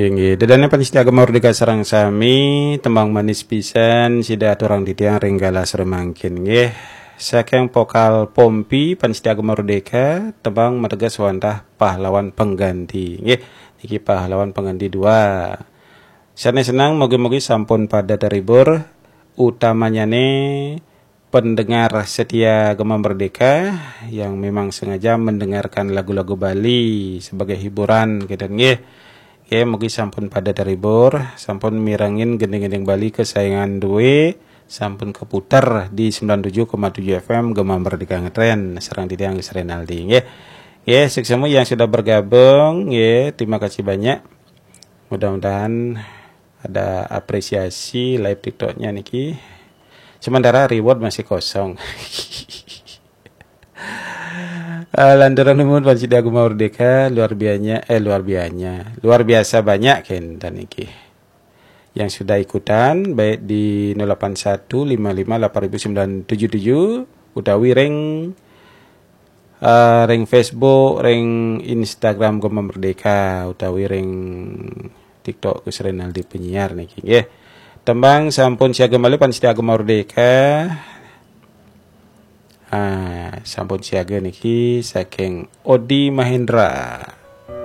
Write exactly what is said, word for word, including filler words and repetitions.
Inggih, ida dané pamiarsa Gema Merdeka sareng sami, tembang manis pisan sida aturang titiang ring galah sore mangkin, nggih. Saking Pokal Pompi, pamiarsa Gema Merdeka, tembang mateges wantah Pahlawan Pengganti, nggih. Niki Pahlawan Pengganti dua. Sané seneng, mugi-mugi sampun pada terhibur, utamanyané pendengar setia Gema Merdeka yang memang sengaja mendengarkan lagu-lagu Bali sebagai hiburan, gitu, nggih. Nggih, mugi sampun pada terhibur, sampun mirengin gending-gending Bali kesayangan dué, sampun keputar di sembilan tujuh koma tujuh F M Gema Merdeka Ngetren, sareng titiang Gus Renaldi, nggih. Nggih, suksma yang sudah bergabung, nggih, terima kasih banyak. Mudah-mudahan ada apresiasi live TikToknya niki. Sementara reward masih kosong. Ah, lantaran nuhun pamiarsa Gema Merdeka, luar biasanya, eh, luar biasanya, luar biasa banyak kénten niki yang sudah ikutan, baik di nol delapan satu lima lima delapan ribu sembilan tujuh tujuh utawi ring, eh, ring Facebook, ring Instagram Gema Merdeka, utawi ring TikTok Gus Renaldi Penyiar niki, nggih. Tembang sampun siaga malih pamiarsa Gema Merdeka. Ah, sampun siaga niki saking Odi Mahendra.